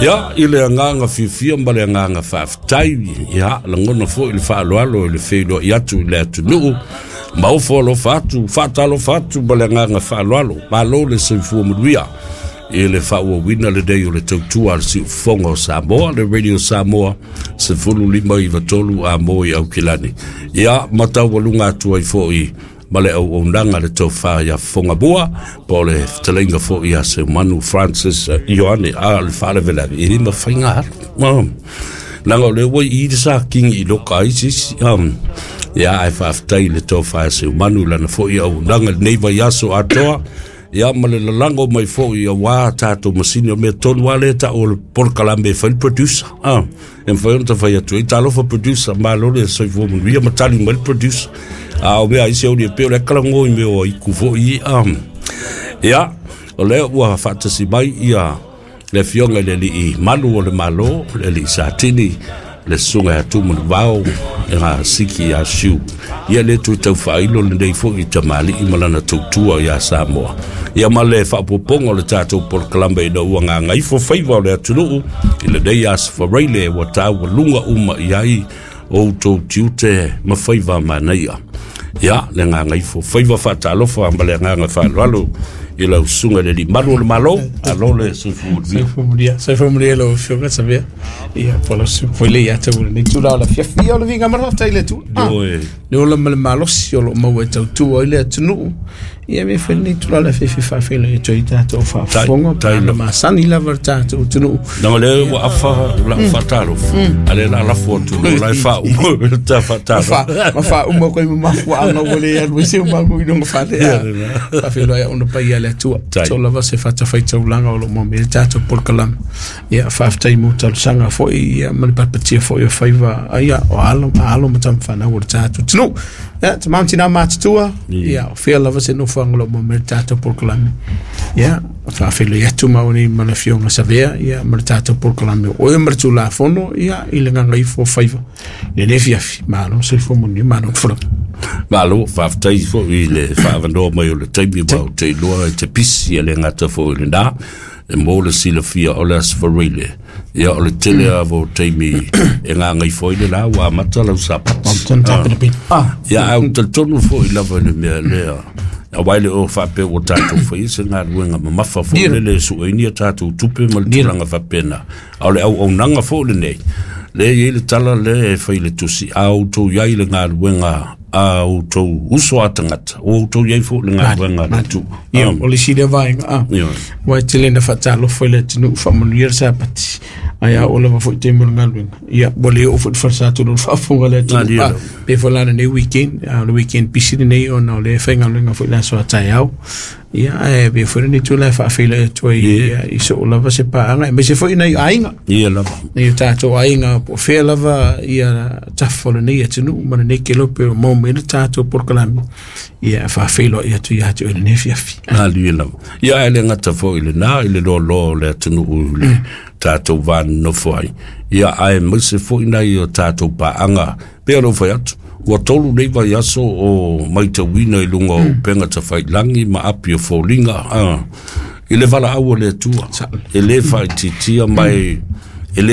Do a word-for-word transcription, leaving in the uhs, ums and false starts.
Ia, i le agaga fiafia ma le agaga faafetai, ia, lagona foi le faaaloalo i le feiloai atu i le atunuu, ma ofo alofa atu, faatalofa atu ma le agaga faaaloalo. Malo le soifua manuia i le faaauauina lenei o le tautua a le Siufofoga o Samoa, le Radio Samoa, sefulu lima iva tolu Amo i Aukilani. Ia, ma taualuga atu ai foi ma le auaunaga le tofa ia Fogamua, po o le fetalaiga foi ia Seumanu Francis Ioane. A o le faalavelave, e le mafai ona alu, leaga o lea ua i i le sakingi i loka ai se isi. Ia, ae faafetai i le tofa ia Seumanu i lana foi auaunaga i lenei vaiaso atoa, ia ma le lalago mai foi auā tatou masini. O mea tonu lava lea e tau o le polokalame e fai le producer, a e mafai ona tafai atu ai, "Talofa producer, malo le soifua manuia," ma tali mai le producer. A o mea aisi auni e pei o le kalago i mea o aiku foi. A ia, o lea ua faatasi mai ia le afioga i le alii malu o le Malo, le alii Satini, le susuga ia Tumanuvao e ga siki ia Siu. Ia le tui tau faailo lenei foi i tamalii ma lana tautua ia Samoa. Ia ma le faapopoga o le tatou polokalame ina ua gagaifo faiva o le atunuu i lenei aso Faraile ua taualuga uma i ai outou tiute ma faiva manaia. Ia, le gagaifo faiva, faatalofa ma le agaga faaaloalo i lau susuga i le alii malu o le Malo. Alo le soifua manuia. Soifua manuia, soifua manuia lau afioga Savea. Ia, po o su foi le ia tau lenei tula o le afiafi o le viga ma le faafetai i le Atua. Ah, Ioe. Le ola ma le malosi o loo maua e tautua ai le atunuu. Ia me foi lenei tula o le afiafi faafeilai atu ai tatou faafofoga Tai- pa na masani lava le tatou atunuu. Leaga lea ua afa lau faatalofa, a lea la lafo atu loa la e faauma ta faatalofa. Ma faauma koe ma mafuaaga ua le alu ai se umagu i luga fale Ia, lena. faafeiloai ona paia le Atua. Tai. To lava se fatafaitaulaga o loo maua le tatou polokalame. Ia, faafetai mo talosaga foi, ia, ma le papatia foi o faiva ia o alo alo ma tamafanau o le tatou atunuu. Ia, tamam tina matutua, ia, o fea lava se nofoaga o loo maua le tatou polokalame. Ia, faafeiloai atu ma nei ma le afioga Savea, ia, ma le tatou polokalame o Oe ma le Tulafono, ia, i le gagaifo faiva i lenei afiafi. Malo soifua manuia, malo le folau. Malo, faafetai foi i le faavanoa mai o le taimi ua ou te iloa e te pisi e le gata foi i lena. E mo le silafia o le aso Faraile. Ia, o le tele lava o taimi e gagaifo ai le la ua amata lau sapati. Ah, Ia, ae ou talitonu foi lava i le mea lea. Aua e le o faapea ua tatou faia se galuega mamafa foi lele e sueini a tatou tupe ma le tulaga faapena. A o le auaunaga foi lenei, lea e i ai le tala lea e fai i le tusi, a outou i ai le galuega a outou uso a tagata, ua outou i ai foi le galuega a le Atua. Ia, o le isi lea vaega a. Ia. Ua e tele na faatalofa i le atunuu, faamanuia le sapati. Ai a o lava foi taimi o le galuega. Ia, ua le oo foi le falesatonu o le faafofoga le atunuu. Malie Ah, lava. pe foi la lenei weekend, a o le weekend pisi lenei ona o le faigaluega foi le aso a taeao. Ia, ae pe foi lenei tula e faafeiloai atu ai ia, i soo lava se paaga, aemaise foi nai aiga. Ia lava. Nei o tatou aiga po o fea lava ia tafa o lenei atunuu ma lenei kelope o maua mai le tatou polokalame. Ia, faafeiloai atu ia te oe lenei afiafi. Malie lava. Ia, ae le gata foi i lena, i le loaloa o le atunuu i le tatou vanonofo ai. Ia, aemaise foi nai o tatou paaga, pe o lou fai atu, ua tolu nei vaiaso o matauina i luga o upega tafailagi ma api o foliga, ah, i le valaau a le Atua. E le faaitiitia mai e le